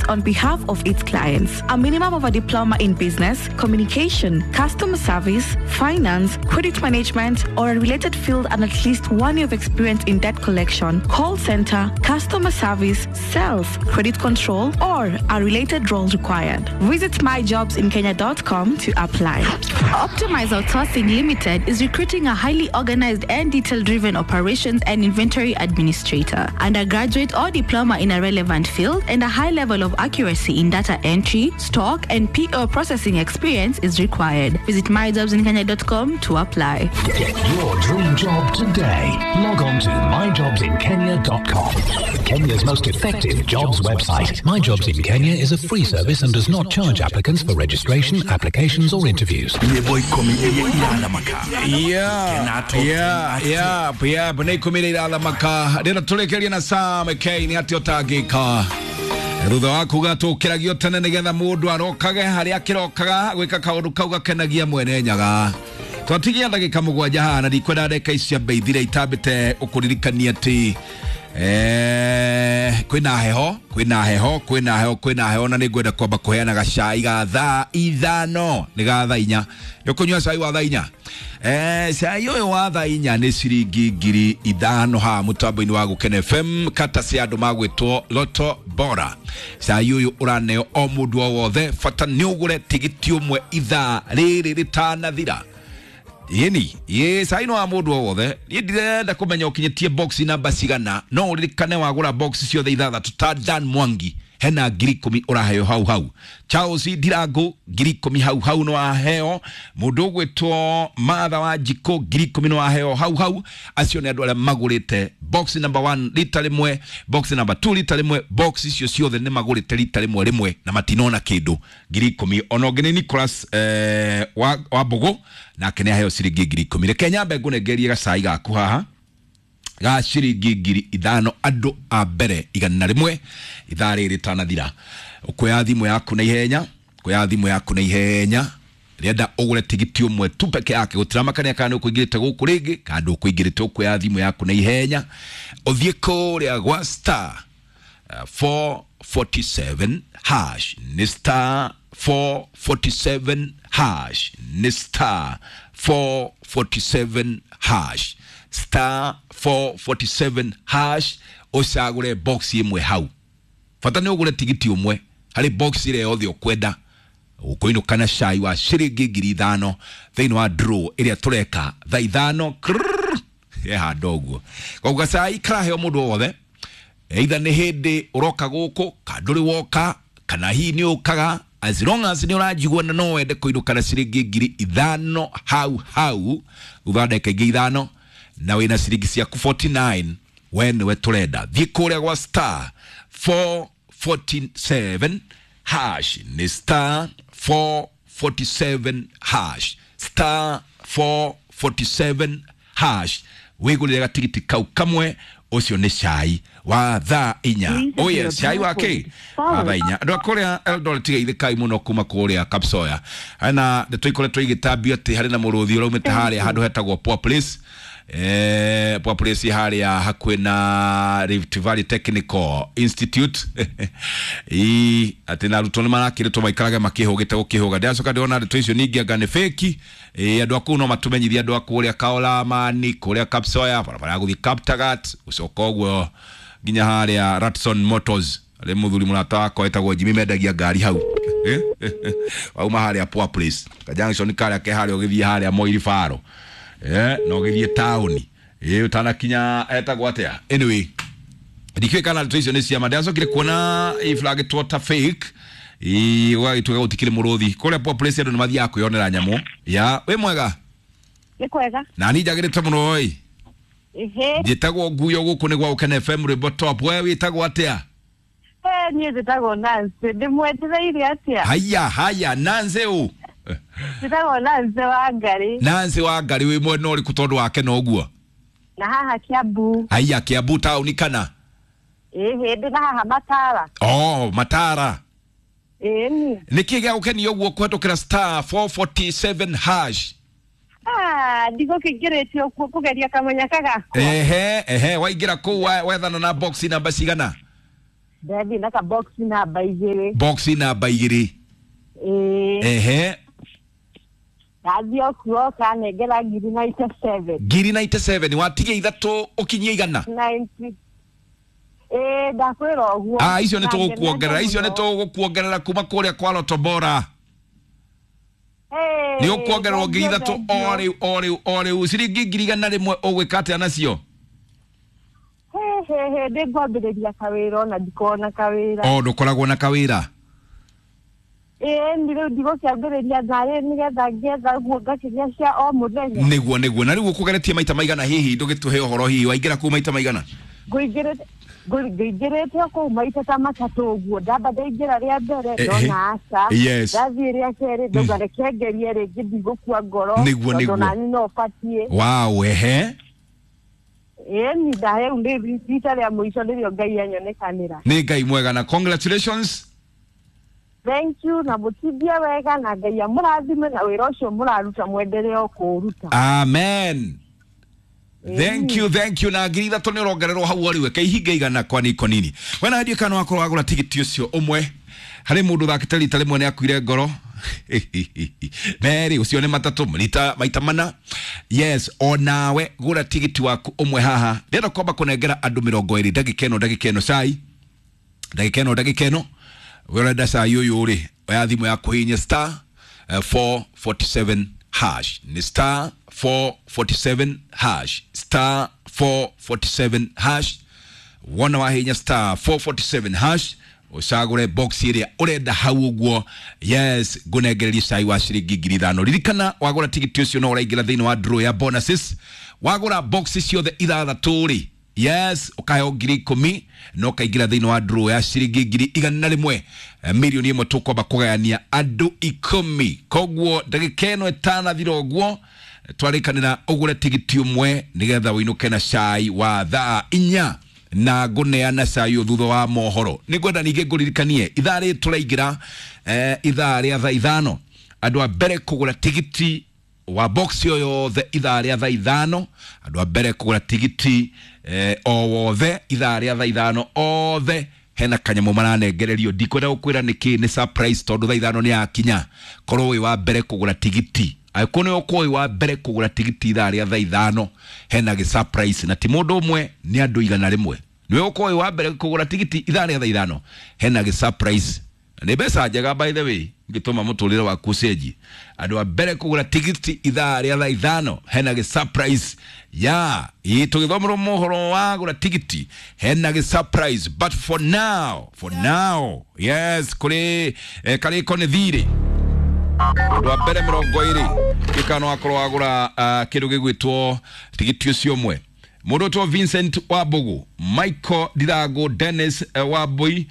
collections on behalf of its clients. A minimum of a diploma in business, communication, customer service, finance, credit management, or a related field, and at least 1 year of experience in debt collection, call center, customer service, sales, credit control, or a related role required. Visit myjobsinkenya.com to apply. Optimize Outsourcing Limited is recruiting a highly organized and detail driven operations and inventory administrator, undergraduate or diploma in a relevant field, and a high level of accuracy in data entry, stock, and PO processing experience is required. Visit myjobsinkenya.com to apply. Get your dream job today. Log on to myjobsinkenya.com. Kenya's most effective jobs website. My Jobs in Kenya is a free service and does not charge applicants for registration, applications, or interviews. Yeah, nä ikå mi rä irathamaka rä ra tå rä kä rie na Sam K nä atä å tangä ka thutha wa kuga tå kä ragio tene nä getha må ndå arokage harä a kä rokaga gwä ka kaå ndå kau gakenagia mwene nyaga. Twatigia ndagä ka 7 haha na ndikwenda ndeka ici cia ithire itambä te å kå ririkania atä kwĩna heho, kwĩna heho, kwĩna heho, kwĩna heho, na nĩ ngwenda kwamba kũheana gacai ga thaa 5, nĩ ga thaa 4. Nĩ ũkũnyua cai wa thaa 4? Cai ũyũ wa thaa 4 nĩ ciringi 5,000 haha mũtambo-inĩ wa Gũkena FM, kata cia andũ magwĩtwo Loto Bora. Cai ũyũ ũraneo o mũndũ o wothe, bata nĩ ũgũre tigiti ũmwe ithaa rĩrĩ rĩtanathira. Yeni ye cai no wa mũndũ o wothe. Niĩ ndirenda kũmenya ũkinyĩtie box namba cigana, no ũririkane wagũra box ciothe ithathatũ ta Dan Mwangi hena 10,000 ũraheo hau hau. Charles Ndirangu 10,000 hau hau no aheo. Mũndũ ũgwĩtwo Martha wa Njikũ 10,000 no aheo hau hau. Acio nĩ andũ arĩa magũrĩte box number 1 rita rĩmwe, box number 2 rita rĩmwe, box icio ciothe nĩ magũrĩte rita rĩmwe rĩmwe na matinona kĩndũ, 10,000. Ona ũngĩ nĩ Nicholas wa Mbũgũ, nake nĩ aheo ciringi 10,000. Reke nyambe ngũnengerie gacai gaku haha ga ciringi 5,000 andũ a mbere 100 ithaa rĩrĩ rĩtanathira. Ũkuoya thimũ yaku na ihenya, kuoya thimũ yaku na ihenya, rĩenda ũgũre tigiti ũmwe tu peke yake, gũtiramakania kana nĩ ũkũingĩrĩte gũkũ rĩngĩ kana ndũkũingĩrĩte. Ũkuoya thimũ yaku na ihenya ũthiĩ kũrĩa gwa star 447 hash, nĩ star 447 hash, nĩ star 447 hash, star 447 hash, ũcagũre box ĩmwe hau. Bata nĩ ũgũre tigiti ũmwe harĩ box ĩrĩa yothe ũkwenda, ũkũinũka na cai wa ciringi 5,000 thĩinĩ wa draw ĩrĩa tũreka thaa 5 krrrr, he handũ ũguo. Koguo gacai karaheo mũndũ o wothe, either nĩ hĩndĩ ũroka gũkũ kana ndũrĩ woka kana hihi nĩ ũkaga, as long as nĩ ũranjigua na no wende kũinũka na ciringi 5,000 hau hau thutha wa ndagĩka ingĩ 5 na wĩna ciringi ciaku 49, we nĩwe tũrenda. Thiĩ kũrĩa gwa star 447 hash, nĩ star 447 hash, star 447 hash, wĩgũrĩre gatigiti kau kamwe. Ũcio nĩ cai wa thaa 4. Oh yes, cai wa kĩ wa thaa 4. Andũ a kũrĩa Eldoret tigeithĩkai mũno kuma kũrĩa Kapsoya hena ndeto ikoretwo igĩtambio atĩ harĩ na mũrũthi ũraumĩte harĩa handũ hetagwo Poor Place, Poor Place harĩa hakuhĩ na Rift Valley Technical Institute. Ii, atĩ na arutwo nĩ marakĩrĩtwo maikarage makĩhũgĩte gũkĩhũga. Ndĩracoka ndĩrona ndeto icio ningĩ anga nĩ fake. Andũ a kũu no matũmenyithie, andũ a kũrĩa Kaolamani, kũrĩa Kapsoya, barabara ya gũthiĩ Kaptagat, gũcoka ũguo nginya harĩa Ratson Motors, harĩ mũthuri mũrata wakwa wĩtagwo Jimmy mendagia ngari hau. Wauma harĩa Poor Place ka junction karĩa ke harĩa ũgĩthiĩ harĩa Moi Faro, na ũgĩthiĩ taũni ũtanakinya etagwo atĩa, anyway ndikĩũĩ kana ndeto icio nĩ ciama. Ndĩracokire kuona iflagĩtwo ta fake, gũgagĩtuĩka gũtikĩrĩ mũrũthi kũrĩa Poor Place. Andũ nĩ mathiaga kwĩyonera nyamũ ya wĩ mwega. Nĩ kwega. Na ni njagĩrĩte mũno ĩ. Ĩhĩ. Njĩtagwo Nguyo, gũkũ nĩ gwa Gũkena FM, rwĩmbo top. We wĩtagwo atĩa? Niĩ njĩtagwo Nancy, ndĩmwetereire atĩa? Haya haya, Nancy ũ? Njĩtagwo Nancy wa Ngarĩ. Nancy wa Ngarĩ, wĩ mwena ũrĩkũ tondũ wake na ũguo? Na haha Kiambu. Haya, Kiambu taũni kana? Ĩhĩ, ndĩ na haha Matara. Oh, Matara. Ĩni. Nĩkĩ gĩa gũkenia ũguo kũhetũkĩra star 447 hash? Ah, ndigũkĩingĩrĩtio kũgeria kamũnyaka gakwa. Ehe ehe, waingĩra kũu wethana na box namba cigana? Ndathiĩ na kabox namba 2. Box namba 2. Ĩĩ. Ehe. Ndathiĩ o kuo kanengera ngiri 97. Ngiri 97 watigia ithatũ ũkinyie igana. 90. Ĩĩ, ndakwĩra ũguo. Ah, icio nĩ Na tũgũkuongerera, ngenete icio nĩ mũno. tũgũkuongerera kuma kũrĩa kwa Lotto Bora. Ĩĩ, Nĩ ũkuongererwo ngiri thengiũ, ithatũ o thengiũ. rĩu o rĩu o rĩu, ciringi 100,000 ũgwĩka atĩa nacio? He he he, ndĩngwambĩrĩria kawĩra ona ndikoragwo na kawĩra. O ndũkoragwo na kawĩra. Ĩĩ, nĩ rĩu ndigũkĩambĩrĩria narĩ nĩgetha ngĩetha guo ngakĩgĩa cia o mũthenya. Nĩguo nĩguo. Na rĩu ũkũgeretie maita maigana hihi ndũgĩtũhe ũhoro hihi waingĩra kũu maita maigana? Ngũingĩrĩte ngũingĩrĩte o kũu maita ta matatũ ũguo, ndamba ndaingĩra rĩa mbere ndona aca. Yes. Ndathiĩ rĩa kerĩ ndauga reke ngerie rĩngĩ, ndigũkua ngoro Nĩguo, tondũ nĩguo. nani no batiĩ. Wow, ehe. Ĩĩ, ni rĩu nĩ rita rĩa mũico nĩrĩo Ngai anyonekanĩra. Nĩ Ngai mwega na congratulations. Thank you, na mũtindie wega na Ngai amũrathime na wĩra ũcio mũraruta mwendelee o kũũruta. Amen. Thank you, thank you. Na ngiri ithatũ nĩ ũrongererwo hau o rĩu eke ihinga igana kwa niko nini. We na ndiĩ kana wakorwo wagũra tigiti ũcio ũmwe harĩ mũndũ ũthakĩte rita rĩmwe nĩ akuire ngoro merĩ ũcio nĩ matatũ rita maita mana. Yes, onawe gũra tigiti waku ũmwe haha. Ndĩrenda kwamba kũnengera andũ 20 ndagĩka ĩno, ndagĩka ĩno cai, ndagĩka ĩno, ndagĩka ĩno. We ũrenda cai ũyũ rĩ, oya thimũ yaku hihinya star 447 hash. Ni star 447 hash, star 447 hash. Wona wahinya star 447 hash ũcagũre box ĩrĩa ũrenda hau ũguo. Yes, ngũnengererie cai wa ciringi 5,000. Ririkana wagũra tigiti ũcio no ũraingĩra thĩinĩ wa draw ya bonuses. Wagũra box ciothe ithathatũ rĩ, yes, ũkaheo 10,000 na ũkaingĩra thĩinĩ wa draw ya ciringi 100,000. 1,000,000 tũkwamba kũgayania andũ 10. Koguo ndagĩka ĩno ĩtanathira ũguo twarĩkanĩra ũgũre tigiti ũmwe nĩgetha ũinũke na cai wa thaa 4 na ngũneana cai ũyũ thutha wa mohoro. Nĩ ngwenda ningĩ ngũririkanie ithaa rĩrĩ tũraingĩra, ithaa rĩa thaa 5, andũ a mbere kũgũra tigiti wa box o yothe ithaa rĩa thaa 5, andũ a mbere kũgũra tigiti o wothe ithaa rĩa thaa 5 othe hena kanyamũ maranengererio. Ndikwenda gũkwĩra nĩkĩ, nĩ surprise tondũ thaa 5 nĩ yakinya. Korwo wĩ wa mbere kũgũra tigiti, angĩkorwo nĩ ũkorwo wĩ wa mbere kũgũra tigiti ithaa rĩa thaa 5, hena gĩ surprise na ti mũndũ ũmwe, nĩ andũ 100. Nĩwe ũkorwo wĩ wa mbere kũgũra tigiti ithaa rĩa thaa 5, hena gĩ surprise na nĩ mbeca njega by the way ngĩtũma mũtũrĩre waku ũcenjie. Andũ a mbere kũgũra tigiti ithaa rĩa thaa 5 hena gĩ surprise ya ĩ tũgĩthomerwo mohoro wa gũra tigiti hena gĩ surprise. But for now, for now, yes, kũrĩ karĩko nĩ thirĩ andũ a mbere 20 gĩkano wakorwo wagũra kĩndũ gĩgwĩtwo tigiti ũcio ũmwe. Mũndũ ũtwo Vincent Wambugu, Michael Ndirango, Dennis Wambui,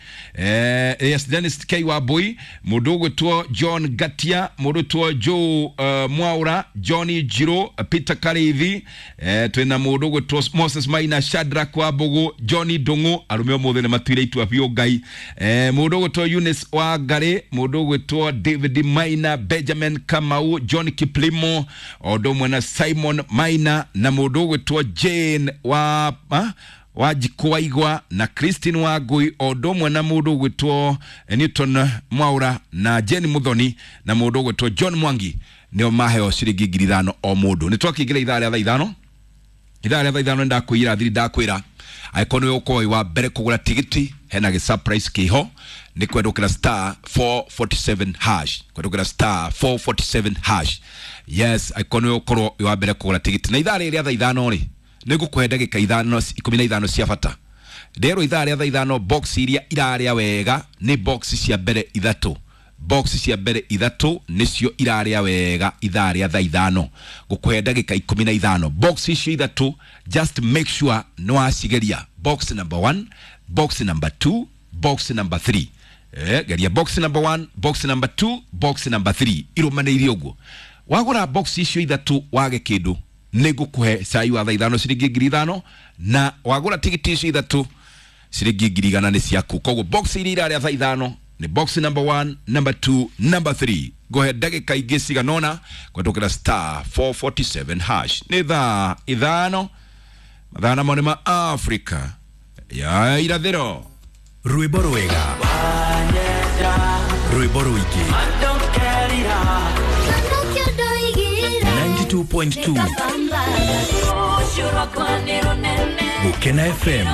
yes, Dennis K Wambui, mũndũ ũgwĩtwo John Gatia, mũndũ ũgwĩtwo Joe Mwaura, Johnny Jiro, Peter Karithi, twĩna mũndũ ũgwĩtwo Moses Maina, Shadrack Wambugu, Johnny Ndung'u, arũme ũmũthĩ nĩ matuire itua biũ Ngai, mũndũ ũgwĩtwo Eunice Wangari, mũndũ ũgwĩtwo David Maina, Benjamin Kamau, John Kiplimo, o ũndũ ũmwe na Simon Maina, na mũndũ ũgwĩtwo Jane wa Wanjikũ Waigwa na Christine Wangui, o ũndũ ũmwe na mũndũ ũgwĩtwo Newton Mwaura na Jane Muthoni na mũndũ ũgwĩtwo John Mwangi, nĩo maheo ciringi 5,000 o mũndũ. Nĩ twakĩingĩra ithaa rĩa thaa 5, ithaa rĩa thaa 5 nĩ ndakwĩra thiri, ndakwĩra angĩkorwo nĩwe ũkorwo wĩ wa mbere kũgũra tigiti hena gĩ surprise kĩho. Nĩ kwendũkĩra star 447 hash, kwendũkĩra star 447 hash. Yes, angĩkorwo nĩwe ũkorwo wĩ wa mbere kũgũra tigiti na ithaa rĩrĩ rĩa thaa 5 rĩ, nĩ ngũkũhe ndagĩka 15 cia bata. Nderwo ithaa rĩa thaa 5 box iria irarĩa wega nĩ box cia mbere ithatũ, box cia mbere ithatũ nĩcio irarĩa wega ithaa rĩa thaa 5. Ngũkũhe ndagĩka 15, box icio ithatũ just make sure nĩ wacigeria. Box number 1, box number 2, box number 3. Geria box number 1, box number 2, box number 3 irũmanĩire ũguo. Wagũra box icio ithatũ wage kĩndũ, nĩ ngũkũhe cai wa thaa 5 ciringi 5,000, na wagũra tigiti icio ithatũ ciringi 100,000 nĩ ciaku. Koguo box iria irarĩa thaa 5 nĩ box number 1, number 2, number 3. Ngũhe ndagĩka ingĩ cigana ũna kũhetũkĩra star 447 hash. Nĩ thaa 5, mathaa namo nĩ ma Afrika ya irathĩro. Rwĩmbo rwega, rwĩmbo rũingĩ, 92.2 Gũkena FM,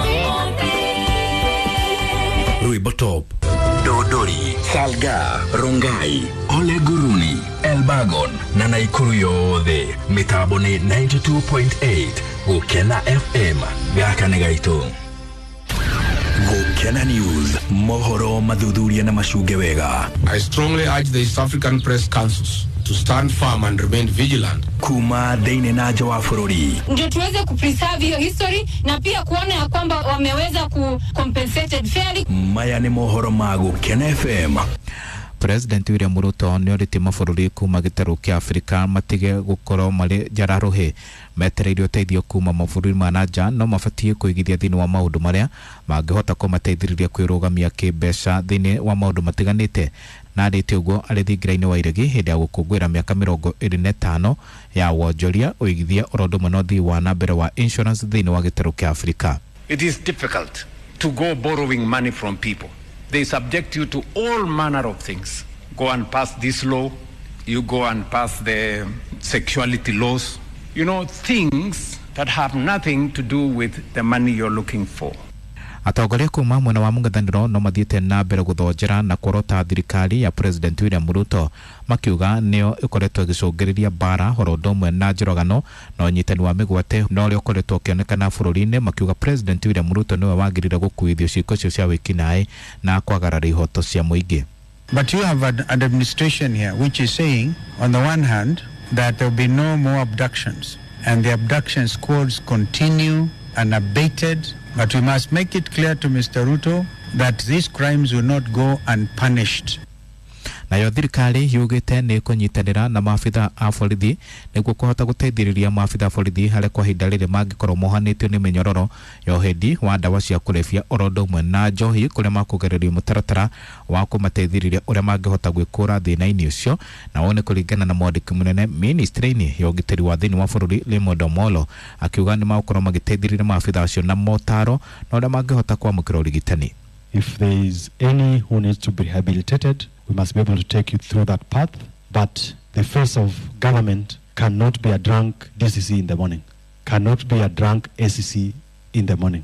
rwĩmbo top. Dodori, Salga, Rongai, Ole Guruni, Elbagon na Naikuru yothe mĩtambo nĩ 92.8 Gũkena FM. Gaka nĩ gaitũ. Gũkena News, mohoro mathuthuria na macunge wega. I strongly urge the East African Press Councils to stand firm and remain vigilant. Kuma thĩinĩ na nja wa bũrũri. Ndio tuweze kupreserve hiyo history na pia kuona ya kwamba wameweza ku compensated fairly. Maya nĩ mohoro ma Gũkena FM. President William Ruto nĩ orĩtie mabũrũri kuma gĩtarũ kĩa Afrika matige gũkorwo marĩ njara-rũhĩ metereire ũteithio kuma mabũrũri ma na nja, no mabatiĩ kũigithia thĩinĩ wa maũndũ marĩa mangĩhota kũmateithĩrĩria kwĩrũgamia kĩmbeca thĩinĩ wa maũndũ matiganĩte. Na arĩtie ũguo arĩ thingira-inĩ wa Iregi hĩndĩ ya gũkũngũĩra mĩaka 25 ya wonjoria, ũigithia oro ũndũ ũmwe na ũthii wa na mbere wa insurance thĩinĩ wa gĩtarũ kĩa Afrika. It is difficult to go borrowing money from people. They subject you to all manner of things. Go and pass this law, you go and pass the sexuality laws. You know, things that have nothing to do with the money you're looking for. Atongoria kuma mwena wa mũng'ethanĩro no mathiĩte na mbere gũthonjera na kworota thirikari ya President William Ruto, makiuga nĩyo ĩkoretwo ĩgĩcũngĩrĩria mbara oro ũndũ ũmwe na njũragano na ũnyitani wa mĩgwate na ũrĩa ũkoretwo ũkĩonekana bũrũri-inĩ, makiuga President William Ruto nĩwe wagĩrĩire gũkuithio ciĩko icio cia wĩkinaĩ na kwagarara ihoto cia mũingĩ. But you have an administration here which is saying, on the one hand, that there will be no more abductions, and the abduction squads continue unabated. But we must make it clear to Mr. Ruto that these crimes will not go unpunished. Nayo thirikari yugĩte nĩ ĩkũnyitanĩra na maabitha a borithi nĩguo kũhota gũteithĩrĩria maabitha a borithi harĩa kwa ihinda rĩrĩ mangĩkorwo mohanĩtio nĩ mĩnyororo ya ũhendi wa ndawa cia kũrebia oro ũndũ ũmwe na njohi, kũrĩa makũgererio mũtaratara wa kũmateithĩrĩria ũrĩa mangĩhota gwĩkũra thĩna-inĩ ũcio. Na wone kũringana na mwandĩki mũnene ministry-inĩ ya ũgitĩri wa thĩinĩ wa bũrũri Raymond Omolo, akiuga nĩ magũkorwo magĩteithĩrĩria maabitha acio na motaro na ũrĩa mangĩhota kwamũkĩra ũrigitani. If there is any who needs to be rehabilitated, we must be able to take you through that path. But the face of government cannot be a drunk DCC in the morning, cannot be a drunk ACC in the morning.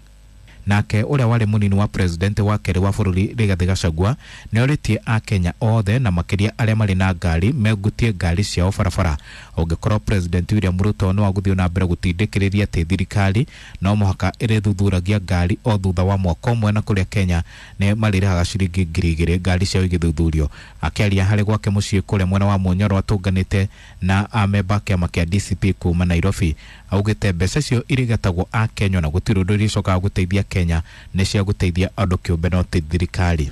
Nake ũrĩa warĩ mũnini wa president wa kerĩ wa bũrũri Rigathĩ Gachagua nĩ orĩtie akenya othe na makĩria arĩa marĩ na ngari megutie ngari ciao barabara ũngĩkorwo President William Ruto no agũthiĩ na mbere gũtindĩkĩrĩria atĩ thirikari no mũhaka ĩrĩthuthuragia ngari o thutha wa mwaka ũmwe, na kũrĩa Kenya nĩ marĩrĩhaga ciringi 2,000 ngari ciao igĩthuthurio. Akĩaria harĩ gwake mũciĩ kũrĩa mwena wa Munyoro atũnganĩte na amemba kĩama kĩa DCP kuma Nairobi, augĩte mbeca icio irĩgetagwo akenya na gũtirĩ ũndũ irĩcokaga gũteithia Kenya, nĩ cia gũteithia andũ kĩũmbe no ti thirikari.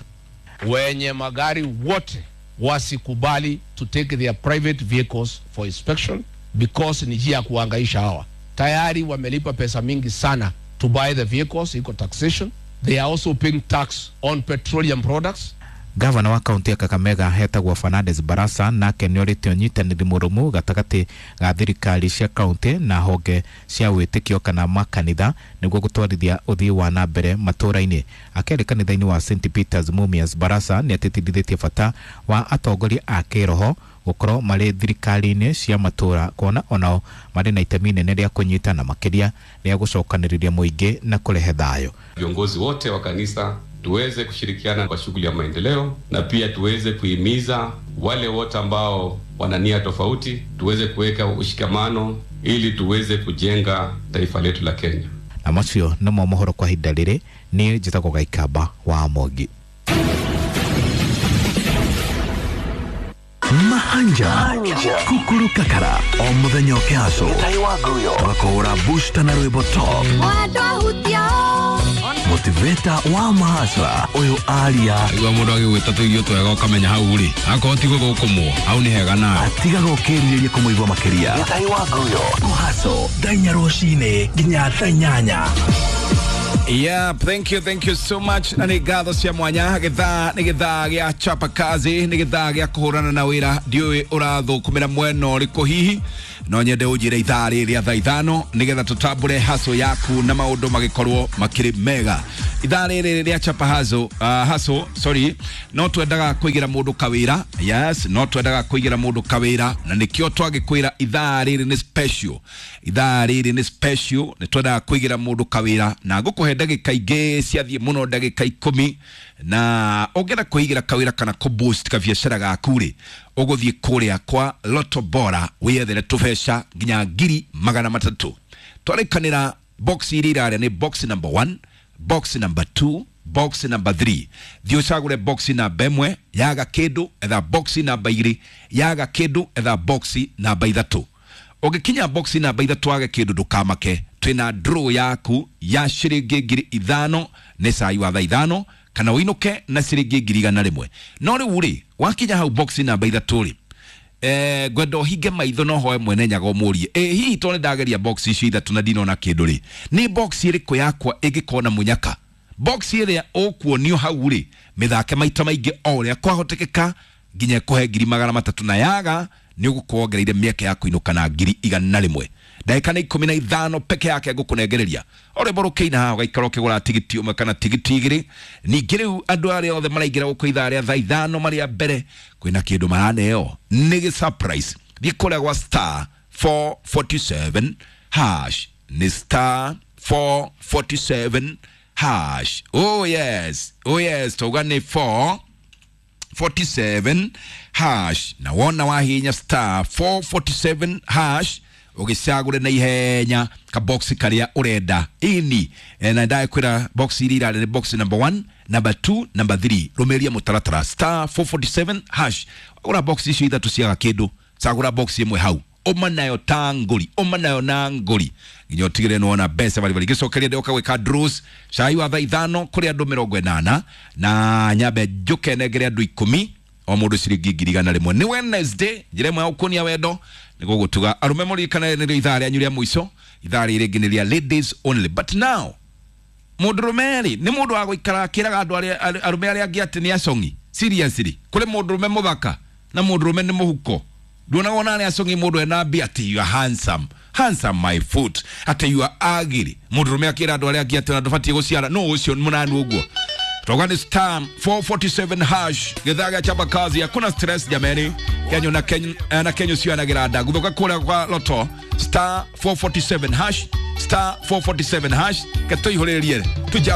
Wenye magari wote wasikubali to take their private vehicles for inspection because ni njia ya kuhangaisha hawa. Tayari wamelipa pesa mingi sana to buy the vehicles, iko taxation. They are also paying tax on petroleum products. Gavana wa kaunti ya Kakamega hetagwo Fernandes Barasa nake nĩ orĩtie ũnyitanĩri mũrũmu gatagatĩ ga thirikari cia kaunti na honge cia wĩtĩkio kana makanitha nĩguo gũtwarithia ũthii wa na mbere matũũra-inĩ. Akĩaria kanitha-inĩ wa St Peters Mumias, Barasa nĩ atĩtĩrithĩtie bata wa atongoria a kĩroho gũkorwo marĩ thirikari-inĩ cia matũũra, kuona onao marĩ na itemi inene rĩa kũnyitana makĩria rĩa gũcokanĩrĩria mũingĩ na kũrehe thayũ. Viongozi wote wa kanisa tuweze kushirikiana kwa shughuli ya maendeleo na pia tuweze kuhimiza wale wote ambao wana nia tofauti, tuweze kuweka ushikamano ili tuweze kujenga taifa letu la Kenya. Na macio nĩmo mohoro kwa ihinda rĩrĩ. Niĩ njĩtagwo Gaikamba wa Mogi. Mahanja Kukuru Kakara o muthenya ũkĩhaco tũgakũhũra booster na rwĩmbo top motiveta wa mahasra ũyũ aria igua mũndũ agĩgwĩta tũirio twega ũkamenya hau rĩ akorwo ti gũthũkũmwo hau nĩ hega nawe atigaga ũkĩrirĩria kũmũigua makĩria. Kũhaco thaa inya rũcinĩ nginya thaa inyanya. Yeah, thank you so much. Na nĩ ngatho cia mwanya. Gĩthaa nĩ gĩthaa gĩa chapa kazi, nĩ gĩthaa gĩa kũhũrana na wĩra. Ndiũĩ ũrathũkũmĩra mwena ũrĩkũ hihi, No nyende ũnjĩre ithaa rĩrĩ thaa 5 nĩgetha tũtambũre haso yaku na maũndũ magĩkorwo makĩrĩ mega. Ithaa rĩrĩ rĩa chapa haso, haso sorry, no twendaga kũigĩra mũndũ kawĩra. Yes, no twendaga kũigĩra mũndũ kawĩra na nĩkĩo twagĩkwĩra ithaa rĩrĩ nĩ special. Ithaa rĩrĩ nĩ special, nĩ twendaga kũigĩra mũndũ kawĩra na ngũkũhe ndagĩka ingĩ ciathiĩ mũno ndagĩka 10 na ũngĩenda kwĩigĩra kawĩra kana kũ boost kabiacara gaku rĩ, ũgũthiĩ kũrĩa kwa Lotto Bora wĩyethere tũbeca nginya 300,000. Twarĩkanĩra box iria irarĩa nĩ box number 1, box number 2, box number 3. Thiĩ ũcagũre box namba 1 yaga kĩndũ, etha box namba 2 yaga kĩndũ, etha box namba 3. Ũngĩkinya box namba 3 wage kĩndũ ndũkamake, twĩna draw yaku ya ciringi 5,000 nĩ cai wa thaa 5 kana ũinũke na ciringi 100,000. No rĩu rĩ, wakinya hau box namba 3 rĩ, ngwenda ũhinge maitho no hoe mwene nyaga ũmũrie, ĩ hihi to nĩ ndageria box icio ithatũ na ndinona kĩndũ rĩ, nĩ box ĩrĩkũ yakwa ĩngĩkorwo na mũnyaka? Box ĩrĩa ũkuonio hau rĩ, mĩthake maita maingĩ o ũrĩa kwahotekeka nginya ĩkũhe 300,000 na yaga nĩ ũgũkorwo wongereire mĩeke ya kũinũka na 100,000. Ndagĩka nĩ 15 peke yake ngũkũnengereria. O rwĩmbo rũkĩina haha ũgaikara ũkĩgũra tigiti ũmwe kana tigiti igĩrĩ. Ningĩ rĩu andũ arĩa othe maraingĩra gũkũ ithaa rĩa thaa 5 marĩa mbere kwĩna kĩndũ maraneo nĩ gĩ surprise. Thiĩ kũrĩa gwa star 447 hash, nĩ star 447 hash. Oh yes, oh yes, tauga nĩ 447 hash na wona wahinya star 447 hash ũgĩcagũre na ihenya kabox karĩa ũrenda ini. Na ndakwĩra box iria irarĩ nĩ box number 1, number 2, number 3. Rũmĩrĩria mũtaratara star 447 hash. Wagũra box icio ithatũ ciaga kĩndũ, cagũra box ĩmwe hau, ũma nayo ta ngũri, ũma nayo na ngũri nginya ũtigĩrĩre nĩ wona mbeca baribari. Ngĩcokeria ndĩroka gwĩka draws cai wa thaa 5 kũrĩ andũ 80 na nyambe njũke nengere andũ 10 o mũndũ ciringi 100,000. Nĩ Wednesday, njĩra ĩmwe ya gũkuonia wendo nĩ gũgũtuga arũme mũririkane nĩrĩo ithaa rĩanyu rĩa mũico. Ithaa rĩrĩ rĩngĩ nĩ rĩa ladies only, but now mũndũrũme rĩ nĩ mũndũ wa gũikara akĩraga andũ arĩa arũme arĩa angĩ atĩ nĩ acong'i. Seriously, kũrĩ mũndũrũme mũthaka na mũndũrũme nĩ mũhuko. Nduonaga ona arĩa acong'i mũndũ ena mbia atĩ you are handsome, handsome my foot, atĩ you are ugly. Mũndũrũme akĩra andũ arĩa angĩ atĩ ona ndũbatiĩ gũciara, no ũcio mũnanu ũguo. Toka ni star 447 hash. Githaa gĩa chapa kazi, hakuna stress jameni. Kenyo na Kenyo na Kenyo sio anagira nda. Guthoka kũrĩa kwa Lotto star 447 hash, star 447 hash. Ketũihũrĩrie tujaze.